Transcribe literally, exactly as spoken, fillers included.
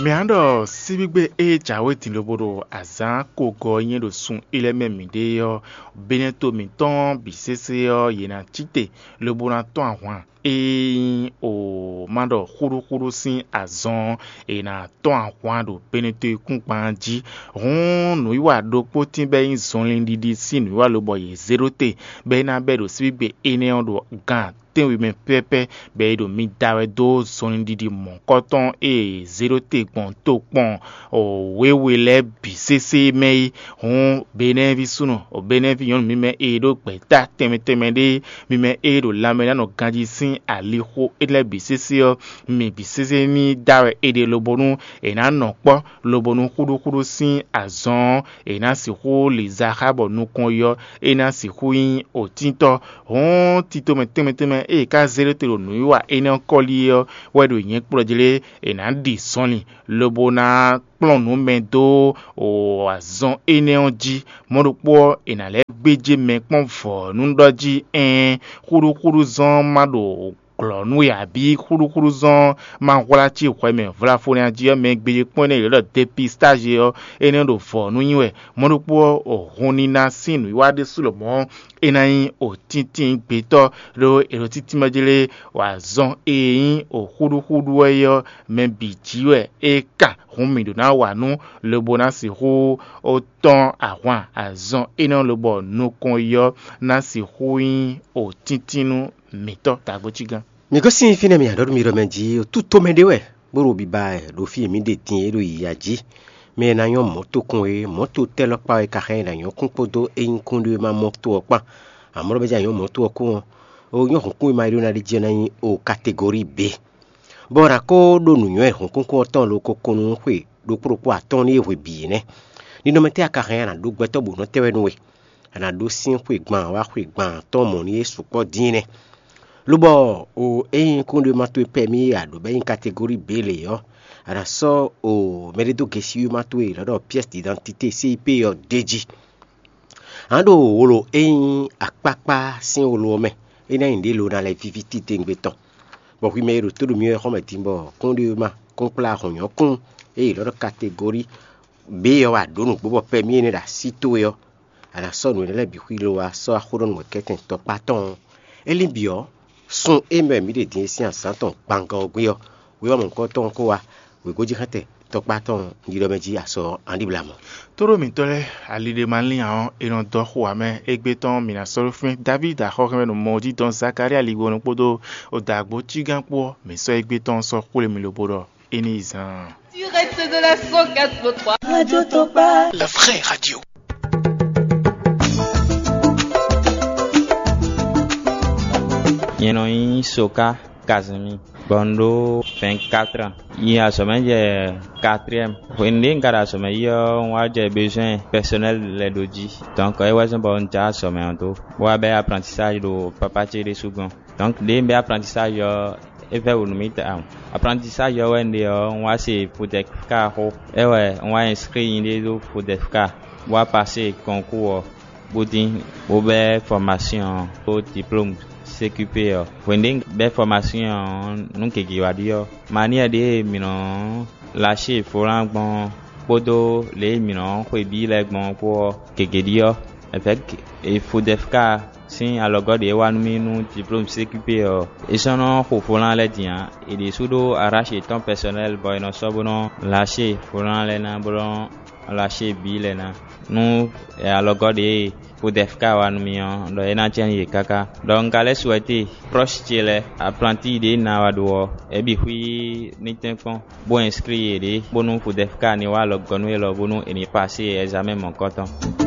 Mǐ á ɖɔ síbígbe e jǎwe din lobo ɖo azǎn kogɔ e nyí ɖo sun élɔ́ mɛ mǐɖée ɔ́, Beneto mǐtɔn bǐ sésé ɔ́, yě ná cí te lobo ná tɔ́n ahwan. Ényí o ma ɖɔ xúɖúxúɖú sín azɔn ɔ́, è nǎ tɔ́n ahwan ɖo Beneto e kún gban jí. Hǔn nǔwiwa ɖokpó tín bɔ é nyí zɔnlin ɖiɖi sín nǔwiwa lobɔ yě zé ɖó te, bɔ é ná bɛ́ ɖo síbígbe énɛ́ ɔ́ ɖo gan tɛ́nwe mɛ pɛ́pɛ́, bɔ è ɖo mi da wɛ dó zɔnlin ɖiɖi mɔ̌hunkɔtɔn e è zé ɖó te gbɔn tokpɔn wěwe lɛ́ɛ bǐ sésé mɛ é. Hǔn Benɛ́ví súnnu, Benɛ́ví nyɔ̌nu mímɛ́ e ɖó gbɛ̌ta tɛnmɛ tɛnmɛ ɖé, mímɛ́ e ɖo lanmɛ ná nɔ ganjí sín alixo énɛ́ lɛ́ɛ bǐ sésé ɔ́, mi bǐ sésé ní da wɛ è ɖe lobonu è nǎ nɔ kpɔ́, lobonu xúɖúxúɖú sín azɔn ɔ́, è nǎ sixú li za xá bɔ nukɔn yi ɔ́, é ná sixú nyí òtíntɔ́. Hǔn tito mɛ tɛnmɛ tɛnmɛ e è ka zé ɖó te ɖo nǔwiwa énɛ́ ɔ́ kɔ́lí é ɔ́ wɛ ɖo nyɛ kplɔ́ jlé è nǎ ɖi zɔnlin, lobo ná kplɔ́n nǔ mɛ dó azɔn énɛ́ ɔ́ jí. Mɔ̌ ɖokpó ɔ́, è nǎ lɛ́ gbéjé mɛ kpɔ́n vɔ̌ nú ɖɔ jí ɛɛn, xúɖúxúɖú zɔn ma ɖo glɔ̌ nú we abǐ xúɖúxúɖú zɔn ma hwlá cí hwɛ mɛ vlafónya jí ɔ́, mɛ gbéjé kpɔ́n énɛ́ è ɖɔ depistázi ɔ́, énɛ́ ɖo vɔ̌ nú nyi wɛ. Mɔ̌ ɖokpó ɔ́, hun níná sín nǔwiwa ɖésú lɔmɔ̌ é ná nyí òtíntín gbětɔ́, ɖó è ɖo títí mɛ jlé wǎ zɔn e nyí òxúɖúxúɖú wɛ é ɔ́, mɛ bǐ jí wɛ é kan. Hǔn mǐ ɖó ná wa nú lobo ná sixú ó tɔ́n ahwan azɔn énɛ́ lobɔ nukɔn yi ɔ́ ná sixú nyí òtíntín nú mǐtɔn. Tagbó cí gán. Mi gosín fínɛ́ mi aɖɔ̌ɖu mi ɖɔ mɛ jí, otútomɛ ɖé wɛ, bó ɖo biba wɛ ɖo fí e mǐ ɖe din é ɖo yiya jí. Mɛ e ná nyɔ́ mɔ̌ tokun é, mɔ̌ to tɛ́ lɔ́kpa wɛ ka xá ɛ ná nyɔ́ kún kpódó ényí kúnɖéwéma mɔ̌ to ɔ́ kpán. Amɔ̌ ɖɔ bɛ́ jɛ nyɔ́ mɔ̌ to ɔ́ kún ɔ́, ó nyɔ́ hǔnkún e ma ɖó ná ɖi jɛ ná nyí o kategori B. Bɔ ɔ́ ná kó ɖó nǔnywɛ́ hǔnkúnkún ɔ́ tɔn ɖo koko nú xwe ɖokpó ɖokpó atɔ́ɔ́n ní é hwe bǐ é nɛ́. Ninɔmɛ tɛ́ a ka hɛn a nǎ ɖó gbɛtɔ́ bǒ nɔ́ tɛ́ wɛ nú we? A nǎ ɖó sín xwegban wá xwegban atɔ́ɔ́n mɔ̌ ní é sukpɔ́ dín nɛ́. Lobɔ o ényí kúnɖéwéma towe pɛ́ mì e a ɖǒ bɔ é nyí kategóri B lě ɔ́, a nǎ sɔ́ o mɛɖédógesíwéma towe e è nɔ ɖɔ pièce d'identité C I P ɔ́ d'é jí. A nǎ ɖo wolo e nyí akpákpá sín wolo ɔ́ mɛ, é ná nyí nǔɖé lo ná lɛ́ víví titewungbe tɔn. Bɔ hwi mɛ e ɖo tó ɖo mì wɛ xɔ́ mɛ din bɔ kúnɖéwéma kúnkplá hɔ̌nnyɔ́kún e è nɔ ɖɔ kategóri B ɔ́ wɛ a ɖǒ nǔgbó bɔ pɛ́ mì énɛ́ ɖo así towe ɔ́, a nǎ sɔ́ nǔ énɛ́ lɛ́ɛ bǐ xwílo wá sɔ́ wá xó ɖɔ nú wɛ̌kɛ́tɛn tɔkpá tɔn ɔ́. É lín bǐ ɔ́, sun e mɛ mǐ ɖe din e sín azǎn tɔn gbangán ɔ́ gbé ɔ́, wěwá mɔ̌hunkɔtɔn ɔ́ kó wá, wěgójíxɛ́ntɛn tɔkpá tɔn ɖiɖɔ mɛ jí asɔ ɔ́, a ɖi blamɔ. Tóɖó mǐtɔn lɛ́ɛ, ali ɖé ma lín ǎ ɔ́, è nɔ dɔ xo ǎ mɛ. Égbé tɔn mǐ ná sɔ́ ɖó fínɛ́. Davídi axɔ́hɛ́nmɛ ɖo mɔ jí dɔn Zakalía ligbo nɔ kpódó odǎgbó cígán kpó ɔ́, mǐ sɔ́ égbé tɔn sɔ́ xwlé mì lobo ɖɔ é ní yi zaan. Direct de la cent quatre point trois. Radio Tokpa. La vraie radio. Nyɛ nɔ nyí Soka Kazumi, bɔ un ɖó vingt-quatre ans. Yi azɔ̌mɛ jɛ quatrième. Hwenu ɖé un ka ɖo azɔ̌mɛ yi ɔ́, un wá jɛ besoin personnel lɛ́ɛ ɖó jí. Donc é wɛ zɔ́n bɔ un jɛ azɔ̌mɛ ɔ́ dó, bó wá bɛ́ apprentissage ɖo papa ce ɖésú gɔ́n. Donc ɖěe un bɛ́ apprentissage ɔ́, é vɛ́ wǔ nú mì tawun. Apprentissage ɔ́ wɛ un ɖe ɔ́, un wá se Fodefka xó. É wɛ un wá inscrit nyɛɖée ɖó Fodefka, bó wá pasé concours ɔ́, bó dín, bó bɛ́ formation ɔ́ kpó diplôme C Q P ɔ́. Hwenu ɖě un bɛ́ formation ɔ́, nǔ gěgé wá ɖi ɔ́, manière ɖě e mǐ nɔ lâché volant gbɔn ɔ́ kpódó lě e mǐ nɔ xwe bǐ lɛ́ɛ gbɔn ɔ́ kpó ɔ́, gěgé ɖi ɔ́, évɛ̌ki e Fodefka sín alɔgɔ́ ɖě wá nú mì nú diplôme C Q P ɔ́, é sɔ́ nɔ xo volant lɛ́ɛ din ǎ. È ɖě sú ɖó arrache yětɔn personnel bɔ è nɔ sɔ́ bó nɔ lâché volant lɛ́ɛ ná, bó nɔ lâché bǐ lɛ́ɛ ná. Nú alɔgɔ́ ɖě e Fodefka wá nú mì ɔ́, ɖɔ é ná jɛ́n yě káká. Ɖɔ un ka lɛ́ souhaité proche ce lɛ́ɛ, apprenti ɖě un ná wá ɖó ɔ́, é bǐ xwí ní tɛ́nkpɔ́n, bó inscrit yěɖée, bónú Fodefka ní wá alɔgɔ́ nú élɔ́, bónú è ní pasé examen mɔ̌hunkɔtɔn.